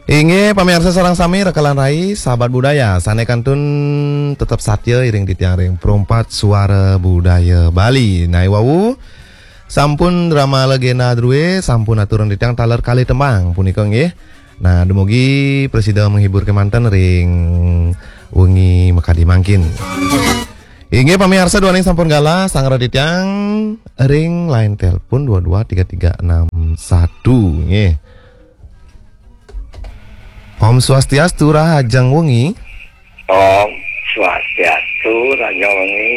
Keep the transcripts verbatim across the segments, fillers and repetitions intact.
Inggih, pamiarsa sareng sami, raka lan rai, sahabat budaya, sané kantun tetep satya iring titiang ring Perumpat Suara Budaya Bali. Nah, wau sampun drama legenda drué, sampun aturan titiang taler kalih tembang punika nggih. Nah, dumugi prasida menghibur kémanten ring wengi makadi mangkin. Inggih, pamiarsa, duaning sampun galah, sangra titiang ring line telepon dua dua tiga tiga enam satu nggih. Om Swastiastu, rahajeng wengi. Om Swastiastu, rahajeng wengi,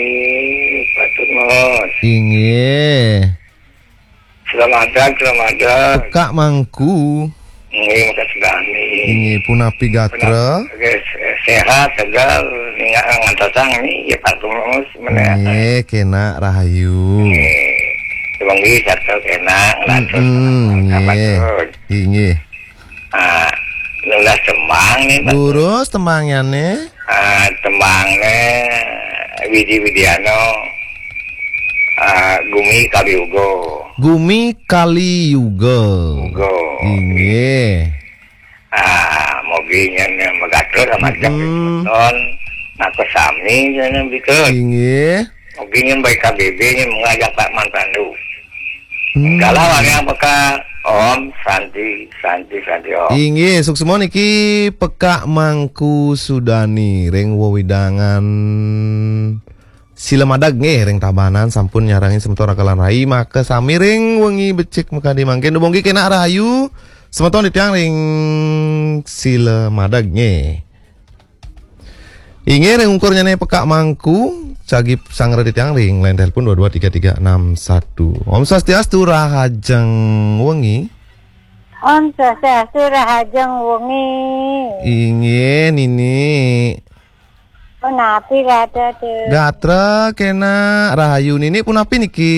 Patut Mas. Inggih. Selamat datang, selamat datang. Pekak Mangku. Inggih, makasih kami. Inggih, punapi gatra? Oke, se-, sehat, segar, ninggal ngantosang nih, ya, Patut Mas, mana? Inggih, kénak rahayu. Inggih. Sumanggi sareng kénak, lantas, Mm-mm, nggih. Inggih. Ah, nunas tembang nih, Pak. Durus tembangnyané. Ah, tembangné Widi Widiano, ah, Gumi Kaliyuga. Gumi Kaliyuga. Yuga. Inggih. Ah, mugi nyen magatra sama Mm-mm. Semeton. Nah, kesami nyen bika. Inggih. Mugi nyen baik K B B nyen mengajak Pak Man Pandu. Hmm. Galah wayang pekak. Om Santi, Santi, Santi Om. Inggih, suksma niki Pekak Mangku Sudani ring wewidangan Sila Madag nggih, ring Tabanan sampun nyarengin semeton raka lan rai, makasami ring wengi becik makadi mangkin. Dumugi kénak rahayu semeton titiang ring Sila Madag nggih. Inggih, ring ungkurnyané Pekak Mangku, jagi sangra titiang ring line telepon dua dua tiga tiga enam satu. Om Swastiastu, rahajeng wengi. Om Swastiastu, rahajeng wengi. Inggih, Nini. Punapi gatra, Cek? Gatra kénak rahayu. Nini punapi niki?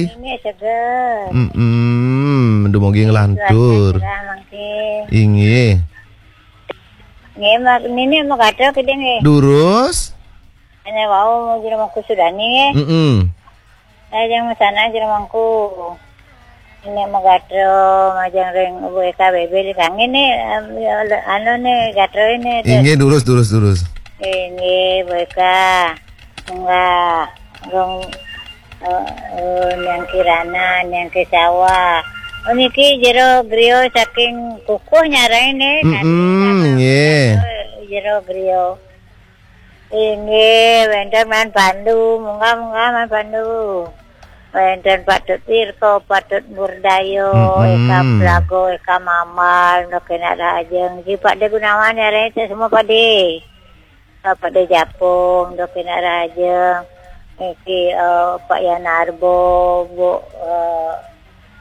Nini seger. Mm-mm, dumugi nglantur. Cuaca cerah mangkin. Inggih. Nggih, mak, nini mau gatel kiding nggih. Durus. Hanya wau mau jero mangku Sudani nggih. Mm-mm. Saya jeng sana jero mangku. Ini mau gatel majeng ring Ibu Eka Bebe di kangin nih, em, ya, le-, anu nih gatel ini. Inggih, durus, durus, durus. Inggih, Bu Eka. Enggak. Rong, eh, eh, Niang Kirana, Niang Kesawa. Oh, niki jero griya saking Kukuh nyarengin nih. Mm-mm, nggih. Jero griya. Inggih, wénten Man Pandu, munggah-munggah Man Pandu. Wénten Patut Wirko, Patut Murdaya, Mm-mm. Eka Plago, Eka Mamal, Ndo Kénak Rahajeng. Niki Pak De Gunawan ya, Rete, semua Pak De. Pak De Japung, Ndo Kénak Rahajeng. Niki, eh, Pak Yanarbo, Bu, eh,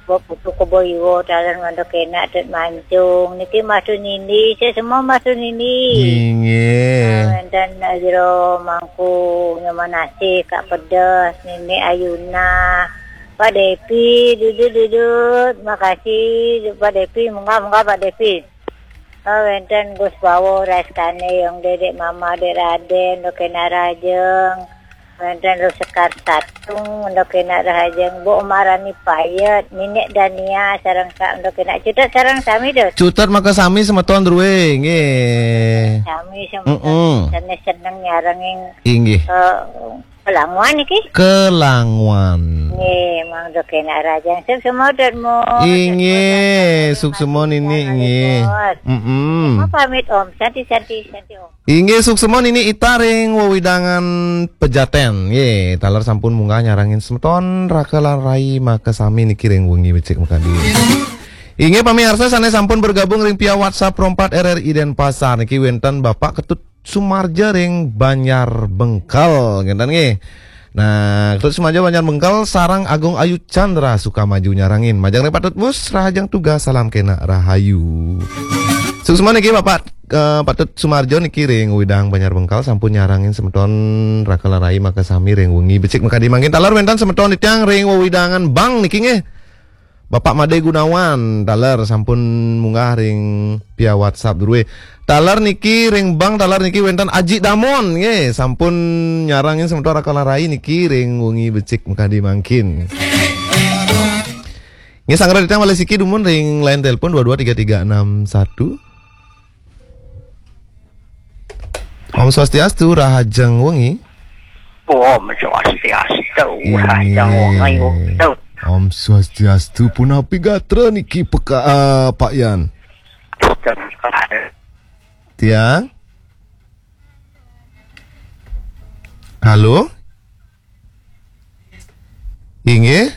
Bapak Putu Kebo Iwo, taler Ndo Kénak, Tut Mancung. Niki Mas Tunindi, saya semua Mas Tunindi. Inggih. Ah, wénten, eh, jero mangku, Nyoman Asih, Kak Pedes, Nini Ayuna, Pak Depi, Dudut, Dudut. Makasih, Pak Depi. Munggah, munggah, Pak Depi. Oh, wénten Gus Bawo, Rais Kane, Yong Dedek, Mama Dek Raden, Ndo Kénak Rahajeng. Wénten Lu Sekar Satung, Ndo Kénak Rahajeng, Bu Marani Payet, Ninik Dania, sareng Kak Ndo Kénak. Cutet sareng sami, Dut. Cutet makasami semeton drué, nggih. Sami semeton. Mm-mm. Sané seneng nyarengin, inggih, eh, Kelanguan niki? Kelanguan. Nggih, Mang Ndo Kénak Rahajeng. Sip semua, Dut, Mu. Inggih, sip semua, Nini, nggih. Mm-mm. Mau pamit, Om. Santi, santi, santi, Om. Inggih, suksma Nini Ita ring wewidangan Pejaten. Nggih, taler sampun munggah nyarengin semeton raka lan rai makasami niki ring wengi becik makadi. Inggih, pamiarsa sané sampun bergabung ring via WhatsApp Pro empat R R I Denpasar niki wénten Bapak Ketut Sumarja ring Banjar Bengkal, ngénten nggih. Nah, Ketut Sumarja Banjar Bengkal sareng Agung Ayu Chandra Sukamaju nyarengin. Majeng ring Patut Mus, rahajeng tugas, salam kénak rahayu. Suksma niki Bapak, eh, Patut Sumarjo niki ring wewidangan Banjar Bengkal sampun nyarengin semeton raka lan rai makasami ring wengi becik makadi mangkin. Taler wénten semeton titiang ring wewidangan Bang niki nggih. Bapak Made Gunawan taler sampun munggah ring via WhatsApp drué. Taler niki ring Bang, taler niki wénten Aji Damon nggih, sampun nyarengin semeton raka lan rai niki ring wengi becik makadi mangkin. Nggih, sangra titiang malih siki dumun ring line telepon dua dua tiga tiga enam satu. Om Swastiastu, rahajeng wengi. Om Swastiastu, rahajeng wengi. Om Swastiastu, punapi gatra niki peka, eh, Pak Yan? Tiang? Halo? Inggih.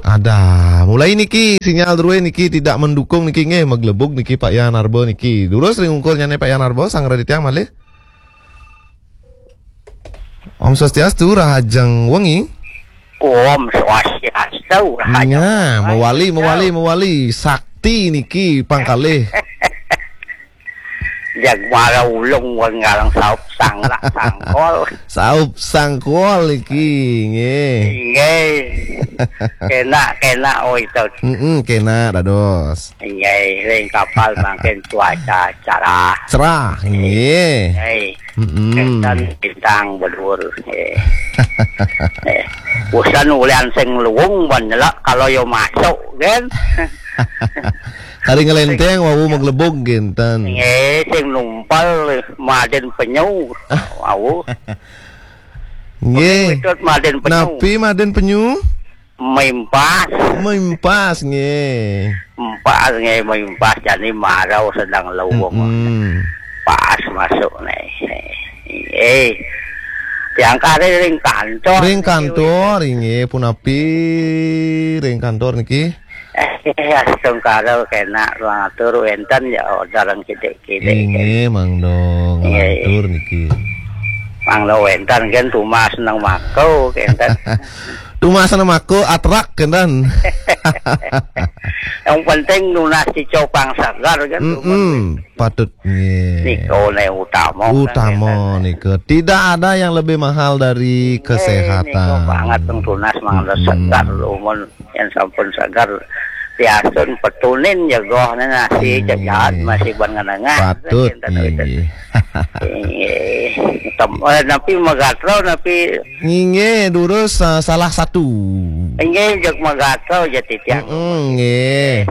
Ada. Mulai niki sinyal druwe niki tidak mendukung niki nggih, maglebug niki Pak Yan Arba niki. Durus ring ungkur nyane Pak Yan Arba, sang radi tiang malih. Om Swastiastu, rahajeng wengi. Om Swastiastu, rahajeng wengi. Nah, mewali, mewali, mewali. Sakti niki pangkalih. Jag mara ulung wan ngalang saup sanglak sangkol. Saup sangkol iki, nggih. Nggih. Kenak, kenak, oi, to. Mm-mm, kenak, dados. Nggih, ring kapal mangkin cuaca cerah. Cerah, nggih. Nggih. Mm-mm. Kinten bintang bedur. Nggih. Eh, usan ulian sing luung ban nyelak kalau yo masuk, kan? Hari ngelenteng wau maglebug kinten. Nggih, sing numpal maden penyu. Wau. Nggih. Witut maden penyu. Napi maden penyu? Mimpas. Mimpas, nggih. Mimpas, nggih, mimpas. Jani marau sedang leweng. Mm-mm. Pas masuk nih. Nggih. Tiang kari ring kantor. Ring kantor, nggih, punapi ring kantor niki? Eh, astungkara kenak langatur wenten ya orderan kidik-kidik. Inggih, mangda. Nggih. Nglantur niki. Mangda wenten kan tumas nang mako kenten. Tumas nang mako atrak kenten. Yang penting nunas cicopang sagar kan. Mm-mm, patut nggih. Nika ne utama. Utama kan, nika. Tidak ada yang lebih mahal dari kesehatan. Nggih, nika banget tunas mangda segar lumun. Yang sampun sagar piasun petunin jagoh nasi. Nggih. Jagat masih ban ngenengah. Patut, nggih. Nggih. Tem-, eh, napi magatra, napi. Nggih, durus, eh, salah satu. Nggih, jeg magatra ja titiang. Mm-mm, nggih.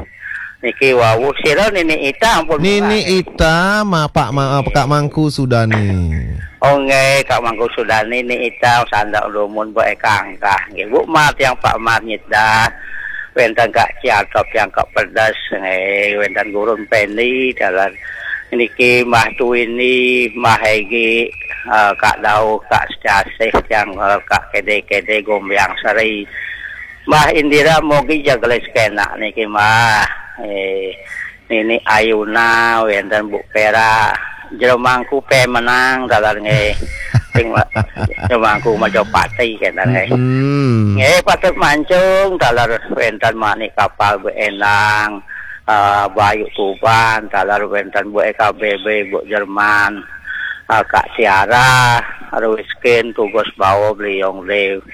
Niki wau sira Nini Ita ampun. Nini Ita, ma-, Pak Ma-, Kak Mangku Sudani. Oh, nggih, Kak Mangku Sudani, Nini Ita, sandak lumun, Bu Eka Angkah. Nggih, Bu Mar tiang Pak Mar nyedah. Wenten Kak Ciatop tiang Kak Pedes, nggih, wenten Gurun Pendi, dalan niki Mbah Tuwini, Mbah Egi, eh, Kak Dau, Kak Secasih tiang, eh, Kak Kede-Kede, Gombiang Seri. Mbah Indira mogi jagelis kenak niki, Mbah. Eh, Nini Ayuna, wenten Bu Pera, jero mangku pemenang, taler nggih. Sing wa-, jero mangku Majapati, kenten nggih. Mm-mm. Nggih, patut mancung, taler wenten Manik Kapal Bu Endang, eh, Bayu Tuban, taler wenten Bu E K B B, Bu Jerman, eh, Kak Tiara, Ruskin, Tugas Bawa, Beliong Dew,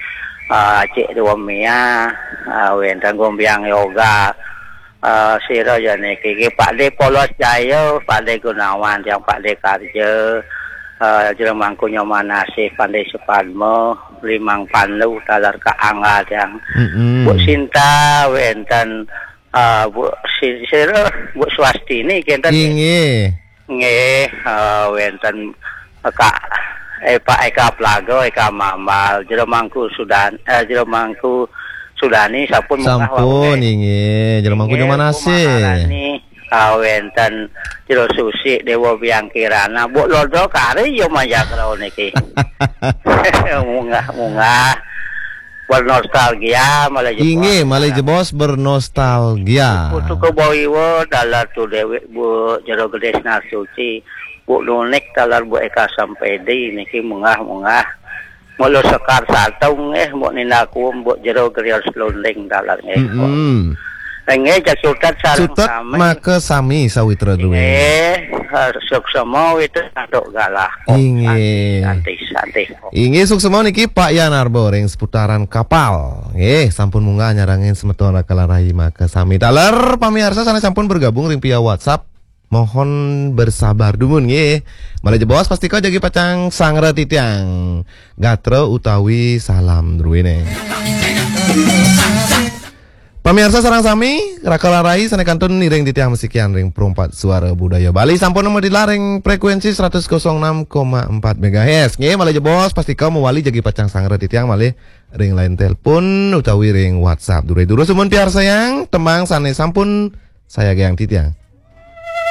eh, Cik Dua Mia, eh, wenten Gombiang Yoga, eh, sira ya niki, ki Pak De Polos Jaya, Pak De Gunawan, tiang Pak De Karja, eh, jero mangku Nyoman Asih, Pande Supadma, Limang Pandu, taler Kak Angga, tiang. Mm-mm. Bu Sinta, wenten, eh, Bu Si-, sira, Bu Swastini, kenten. Inggih. Nggih, eh, wenten Kak, eh, Pak Eka Plaga, Eka Mambal, jero mangku Sudan-, eh, jero mangku Sudani sampun munggah wau, nggih. Sampun, inggih. Jero mangku Nyoman Asih. Nggih, Bu Maharani, eh, wenten jero Susi, Dewa Biang Kirana, Bu Lodo kari ya majagra niki. Munggah-munggah. Bernostalgia, malih jebos. Inggih, malih jebos bernostalgia. Putu Kebo Iwa, taler Tu Dewi, Bu Jero Gede Sinar Suci, Bu Nunik, taler Bu Eka Sampedi, niki munggah-munggah. Mula Sekar Satung, eh, Bu Nina Kuum, Bu Jero Grios Lunding, taler nggih. Mm-mm. Nggih, jak sutet sareng Sutet sami. Maka sami sawitra duwe. Nggih, suksema wit antuk galah. Om Inggih. Santi, Santi, Santi. Inggih, suksema niki Pak Yan Arbo ring seputaran kapal. Nggih, sampun munggah nyarengin semeton Rakala Rahi maka sami. Taler pamiarsa sane sampun bergabung ring via WhatsApp, mohon bersabar dumun nggih. Malih jebos pastika jagi pacang sangra titiang gatra utawi salam druwene. Pamiarsa sareng sami, Raka lan Rai sané kantun ngiring titiang masikian ring Perumpat Suara Budaya Bali sampun madilar ring frekuensi seratus kosong enam koma empat megahertz. Nggih, malih jebos pastika mawali jagi pacang sangra titiang malih ring line telepon utawi ring WhatsApp. Durus-durus sumun piarsayang tembang sané sampun sayagiang titiang.